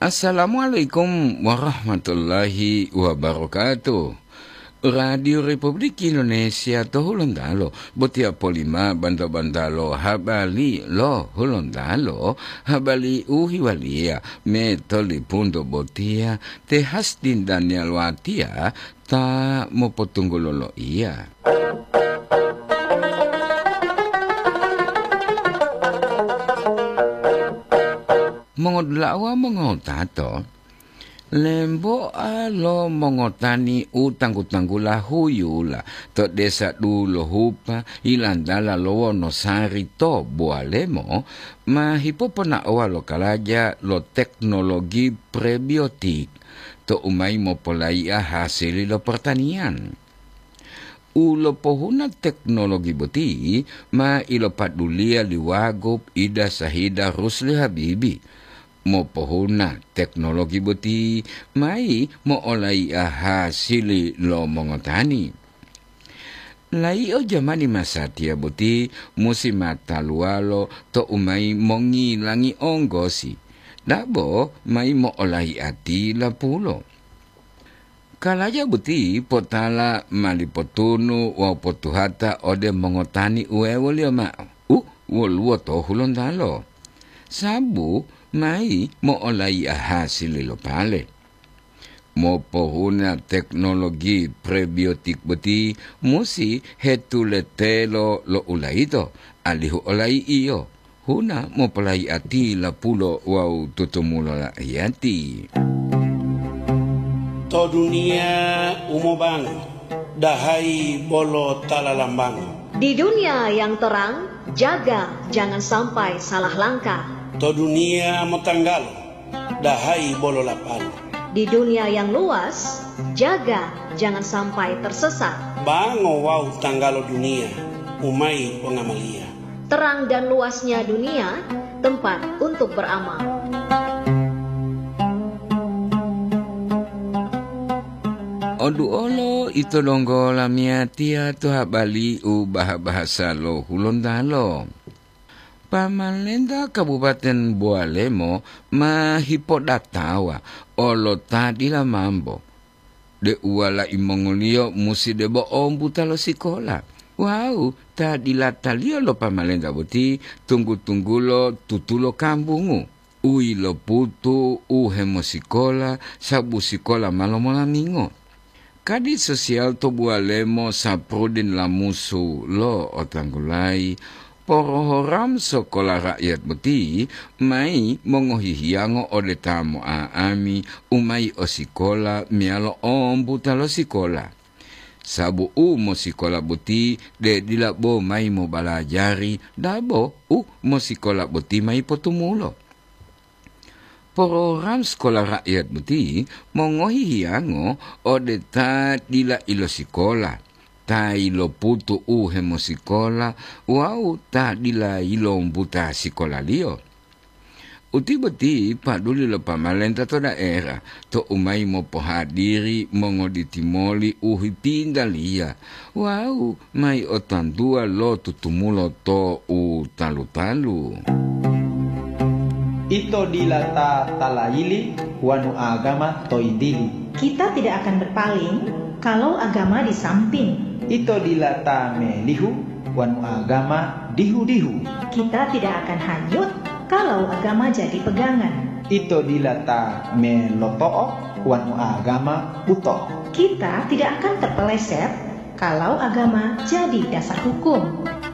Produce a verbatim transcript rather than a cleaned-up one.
Assalamualaikum warahmatullahi wabarakatuh. Radio Republik Indonesia to Hulontalo, botiya polima banta-bantalo habari lo Hulontalo, habari u hiwaliya me tolipunto botiya te Hastin Daniel Watia ta mopotunggulo loiya. Mongodula'a wawu mongotato, lemboa lo mongotani u tanggu-tanggula huyula to desa Dulohupa, yilantala lo Wonosari to Buwalemo, ma hipoponaowa lo kalaja lo teknologi prebiotik to u mayi mopolaiya hasili lo pertanian. U lopohuna teknologi boti ma ilopaduliya li Wagub Ida Sahida Rusli Habibi. Mopohuna teknologi boti mayi mo'olaiya hasili lo mongotani. Layi'o jamani masatiya boti musi mataluwalo to u mayi mongilangi onggosi, dabo mayi mo'olaiya tilapulo. Kalaja boti potala ma lipotunu wawu potuhata ode mongotani uwewoliyo ma'o u woluwo to Hulontalo, sabu mayi mo'olaiya hasili lo pale. Mopohuna teknologi prebiotik boti musi hetuletelo lo ulayito, alihu olayi'iyo huna mopolayi'ati lapulo wawu tutumulo lahiyati. To duniya u mobango, dahayi bolo ta lalambango. Di dunia yang terang, jaga jangan sampai salah langkah. To duniya motanggalo, dahayi bolo lapalo. Di dunia yang luas, jaga jangan sampai tersesat. Bango wawu tanggalo duniya, u mayi pongamaliya. Terang dan luasnya dunia, tempat untuk beramal. Oduolo ito donggo lamiyatiya to habari u baha-bahasa lo Hulontalo. Pamalenta Kabupaten Bowalemo ma hipodatawa olo ta dila mambo, deu walai mongoliyo musi debo ombuta lo sikola. Wawu ta dilataliyo lo pamalenta boti tunggu-tunggulo tutulo kambungu, u yiloputu u hemosikola sabu sikola ma lomolamingo. Kadi sosial to Buwalemo Saprudin Lamusu lo otanggulayi, porohoram sokola rakyat boti mayi mongohihiyango ode ta mo'a'ami u mayi o sikola meyalo ombuta lo sikola. Sabu u mosikola boti de dila bo mayi mobalajari, dabo u mosikola boti mayi potumulo. Porogram sikola rakyat boti mongohi hiyango ode ta dila ilosikola, ta iloputu u hemosikola wawu ta dila yilombuta sikolaliyo. Uti boti paduli lo pamalenta to daerah to u mayi mopohadiri mongoditi moli u hipintaliya wawu mayi otantuwa lo tutumulo to u talu-talu. Ito dila ta talayili wonu agama to yintili. Kita tidak akan berpaling kalau agama di samping. Ito dila ta melihu wonu agama dihu-dihu. Kita tidak akan hanyut kalau agama jadi pegangan. Ito dila ta meloto'o wonu agama buto. Kita tidak akan terpeleset kalau agama jadi dasar hukum.